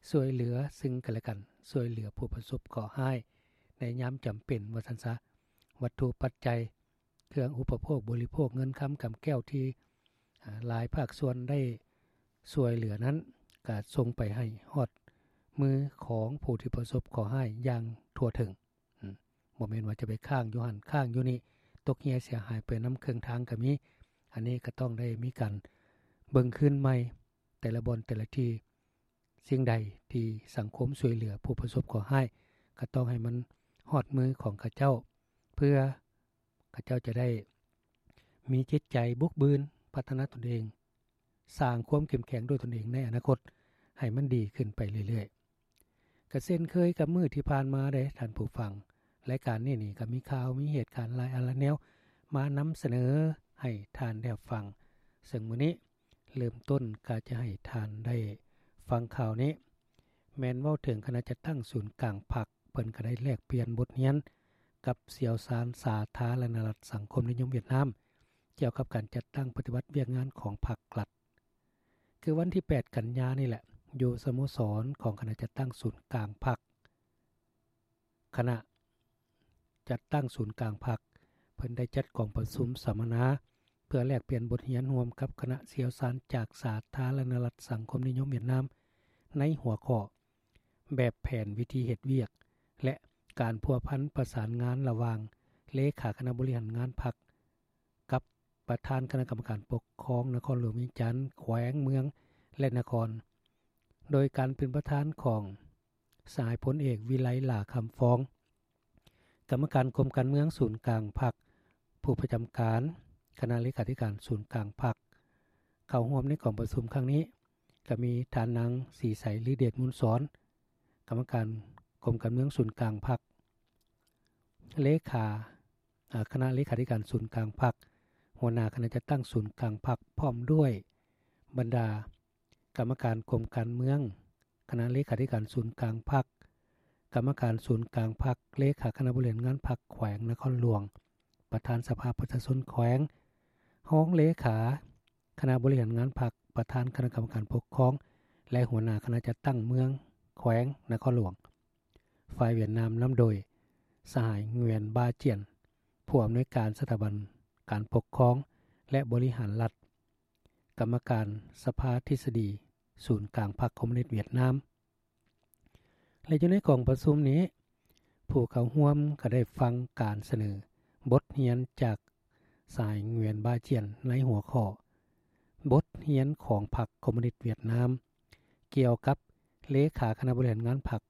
ຊ່ວຍເຫຼືອຊຶ່ງກັນແລະກັນ, ຊ່ວຍເຫຼືອຜູ້ປະສົບເຄາະຮ້າຍໃນຍາມຈຳເປັນວ່າຊັ້ນຊະ. ວັດຖຸປັດໄຈ, ເຄື່ອງອຸປະໂພກບໍລິໂພກ, ເງິນຄຳກຳແກ້ວທີ່ ອາ ຫຼາຍພາກສ່ວນໄດ້ຊ່ວຍເຫຼືອນັ້ນ ກະສົ່ງໄປໃຫ້ຮອດມືຂອງຜູ້ທີ່ປະສົບເຄາະຮ້າຍຢ່າງທົ່ວເຖິງ. ອືມ ບໍ່ແມ່ນວ່າຈະໄປຄ້າງຢູ່ຫັ້ນຄ້າງຢູ່ນີ້, ຕົກເຫຍເສຍຫາຍໄປນຳເຄິ່ງທາງກໍມີ. ອັນນີ້ກໍຕ້ອງໄດ້ມີການເບິ່ງຄືນໃໝ່ ແຕ່ລະບ່ອນແຕ່ລະທີ່. ສິ່ງໃດທີ່ສັງຄົມຊ່ວຍເຫຼືອຜູ້ປະສົບເຄາະຮ້າຍ ກໍຕ້ອງໃຫ້ມັນຮອດມືຂອງເຂົາເຈົ້າ ເພື່ອເຂົາເຈົ້າຈະໄດ້ມີຈິດໃຈບຸກບືນ, ພັດທະນາຕົນເອງ, ສ້າງຄວາມເຂັ້ມແຂງດ້ວຍຕົນເອງໃນອະນາຄົດໃຫ້ມັນດີຂຶ້ນໄປເລື້ອຍໆ. ກະເຊັ່ນເຄີຍກັບມື້ທີ່ຜ່ານມາເດ້ທ່ານຜູ້ຟັງ, ລາຍການນີ້ນີ້ກໍມີຂ່າວມີເຫດການຫຼາຍອັນຫຼາຍແນວມານຳສະເໜີໃຫ້ທ່ານໄດ້ຮັບຟັງ. ເຊິ່ງມື້ນີ້ເລີ່ມຕົ້ນກໍຈະໃຫ້ທ່ານໄດ້ຟັງຂ່າວນີ້ ແມ່ນເວົ້າເຖິງຄະນະຈັດຕັ້ງສູນກາງພັກ ເພິ່ນກໍໄດ້ແລກປ່ຽນບົດຮຽນກັບຊ່ຽວຊານສາທາລະນະລັດສັງຄົມນິຍົມຫວຽດນາມ ກ່ຽວກັບການຈັດຕັ້ງປະຕິບັດວຽກງານຂອງພັກລັດ. ຄືວັນທີແປດກັນຍານີ້ແຫຼະ ຢູ່ສະໂມສອນຂອງຄະນະຈັດຕັ້ງສູນກາງພັກ, ຄະນະຈັດຕັ້ງສູນກາງພັກ ເພິ່ນໄດ້ຈັດກອງປະຊຸມສຳມະນາ ເພື່ອແລກປ່ຽນບົດຮຽນຮ່ວມກັບຄະນະຊ່ຽວຊານຈາກສາທາລະນະລັດສັງຄົມນິຍົມຫວຽດນາມ ໃນຫົວຂໍ້ ແບບແຜນວິທີເຮັດວຽກ ແລະ ການພົວພັນປະສານງານລະຫວ່າງເລຂາຄະນະບໍລິຫານງານພັກ ກັບປະທານຄະນະກຳມະການປົກຄອງນະຄອນຫຼວງວຽງຈັນ, ແຂວງ, ເມືອງ ແລະ ນະຄອນ, ໂດຍການເປັນປະທານຂອງສະຫາຍພົນເອກ ວິໄລ ຫຼ້າຄຳຟອງ, ກຳມະການກົມການເມືອງສູນກາງພັກ, ຜູ້ປະຈຳການຄະນະເລຂາທິການສູນກາງພັກ. ເຂົ້າຮ່ວມໃນກອງປະຊຸມຄັ້ງນີ້ ກໍມີທ່ານນາງ ສີໃສ ລືເດດມູນສອນ, ກຳມະການກົມການເມືອງສູນກາງພັກ, ເລຂາ ອາ ຄະນະເລຂາທິການສູນກາງພັກ, ຫົວໜ້າຄະນະຈັດຕັ້ງສູນກາງພັກ ພ້ອມດ້ວຍບັນດາກຳມະການກົມການເມືອງ, ຄະນະເລຂາທິການສູນກາງພັກ, ກຳມະການສູນກາງພັກ, ເລຂາຄະນະບໍລິຫານງານພັກແຂວງນະຄອນຫຼວງ, ປະທານສະພາປະຊາຊົນແຂວງ, ຮອງເລຂາຄະນະບໍລິຫານງານພັກ, ປະທານຄະນະກຳມະການປົກຄອງ ແລະ ຫົວໜ້າຄະນະຈັດຕັ້ງເມືອງແຂວງນະຄອນຫຼວງ. ຝ່າຍຫວຽດນາມນຳໂດຍສະຫາຍ ງວຽນ ບາຈຽນ ຜູ້ອຳນວຍການສະຖາບັນການປົກຄອງ ແລະ ບໍລິຫານລັດ, ກຳມະການສະພາທິດສະດີສູນກາງພັກຄອມມູນິດຫວຽດນາມ. ແລະ ຢູ່ໃນກອງປະຊຸມນີ້ ຜູ້ເຂົ້າຮ່ວມກໍໄດ້ຟັງການສະເໜີບົດຮຽນຈາກສະຫາຍ ງວຽນ ບາຈຽນ ໃນຫົວຂໍ້ ບົດຮຽນຂອງພັກຄອມມູນິດຫວຽດນາມ ກ່ຽວກັບເລຂາຄະນະບໍລິຫານງານພັກ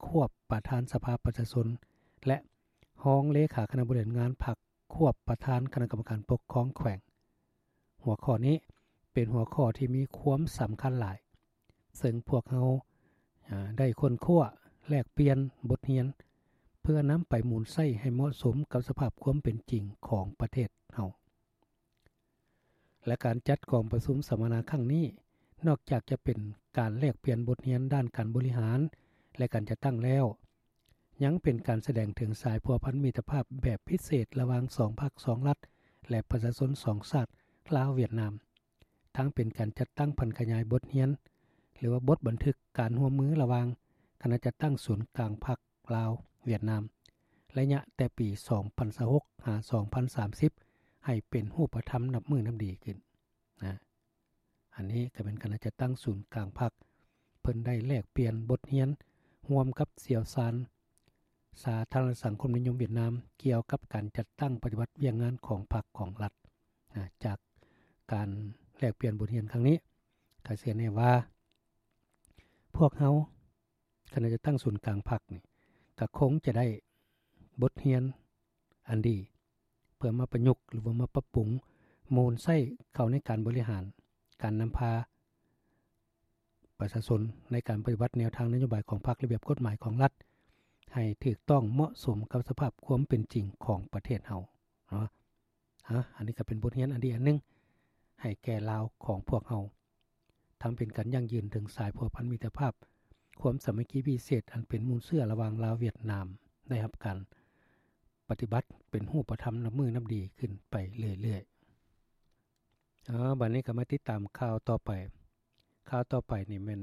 ຄວບປະທານສະພາປະຊາຊົນ ແລະ ຮອງເລຂາຄະນະບໍລິຫານງານພັກ ຄວບປະທານຄະນະກຳມະການປົກຄອງແຂວງ. ຫົວຂໍ້ນີ້ເປັນຫົວຂໍ້ທີ່ມີຄວາມສຳຄັນຫຼາຍ, ເຊິ່ງພວກເຮົາ ອາ ໄດ້ຄົ້ນຄວ້າແລກປ່ຽນບົດຮຽນ ເພື່ອນຳໄປໝູນໃຊ້ໃຫ້ເໝາະສົມກັບສະພາບຄວາມເປັນຈິງຂອງປະເທດເຮົາ. ແລະ ການຈັດກອງປະຊຸມສຳມະນາຄັ້ງນີ້ ນອກຈາກຈະເປັນການແລກປ່ຽນບົດຮຽນດ້ານການບໍລິຫານ ແລະ ການຈັດຕັ້ງແລ້ວ, ຍັງເປັນການສະແດງເຖິງສາຍພົວພັນມິດຕະພາບແບບພິເສດລະຫວ່າງສອງພັກສອງລັດ ແລະ ປະຊາຊົນສອງຊາດ ລາວ-ຫວຽດນາມ, ທັງເປັນການຈັດຕັ້ງຜັນຂະຫຍາຍບົດຮຽນ ຫຼືວ່າບົດບັນທຶກການຮ່ວມມືລະຫວ່າງຄະນະຈັດຕັ້ງສູນກາງພັກ ລາວ-ຫວຽດນາມ ໄລຍະແຕ່ປີສອງພັນຊາວຫົກ ຫາ ສອງພັນສາມສິບ ໃຫ້ເປັນຮູບປະທຳນັບມື້ນັບດີຂຶ້ນນະ. ອັນນີ້ກໍເປັນຄະນະຈັດຕັ້ງສູນກາງພັກ ເພິ່ນໄດ້ແລກປ່ຽນບົດຮຽນຮ່ວມກັບຊ່ຽວຊານສາທາລະນະສັງຄົມນິຍົມຫວຽດນາມ ກ່ຽວກັບການຈັດຕັ້ງປະຕິບັດວຽກງານຂອງພັກຂອງລັດນະ. ຈາກການແລກປ່ຽນບົດຮຽນຄັ້ງນີ້ ກໍເຊື່ອແນ່ວ່າ ພວກເຮົາ ຄະນະຈັດຕັ້ງສູນກາງພັກນີ້ ກໍຄົງຈະໄດ້ບົດຮຽນອັນດີ ເພື່ອມາປະຍຸກ ຫຼືວ່າມາປັບປຸງ ໝູນໃຊ້ເຂົ້າໃນການບໍລິຫານ ການນຳພາປະຊາຊົນ ໃນການປະຕິບັດແນວທາງນະໂຍບາຍຂອງພັກ ລະບຽບກົດໝາຍຂອງລັດ ໃຫ້ຖືກຕ້ອງເໝາະສົມກັບສະພາບຄວາມເປັນຈິງຂອງປະເທດເຮົາເນາະ. ອາ ອັນນີ້ກໍເປັນບົດຮຽນອັນດີອັນໜຶ່ງ ໃຫ້ແກ່ລາວຂອງພວກເຮົາ. ທັງເປັນການຢັ້ງຢືນເຖິງສາຍພົວພັນມິດຕະພາບ, ຄວາມສາມັກຄີພິເສດອັນເປັນມູນເຊື້ອລະຫວ່າງລາວຫວຽດນາມ ໄດ້ຮັບການປະຕິບັດເປັນຮູບປະທຳນັບມື້ນັບດີຂຶ້ນໄປເລື້ອຍໆ. ເອົາ ບັດນີ້ກໍມາຕິດຕາມຂ່າວຕໍ່ໄປ. ຂ່າວຕໍ່ໄປນີ້ແມ່ນ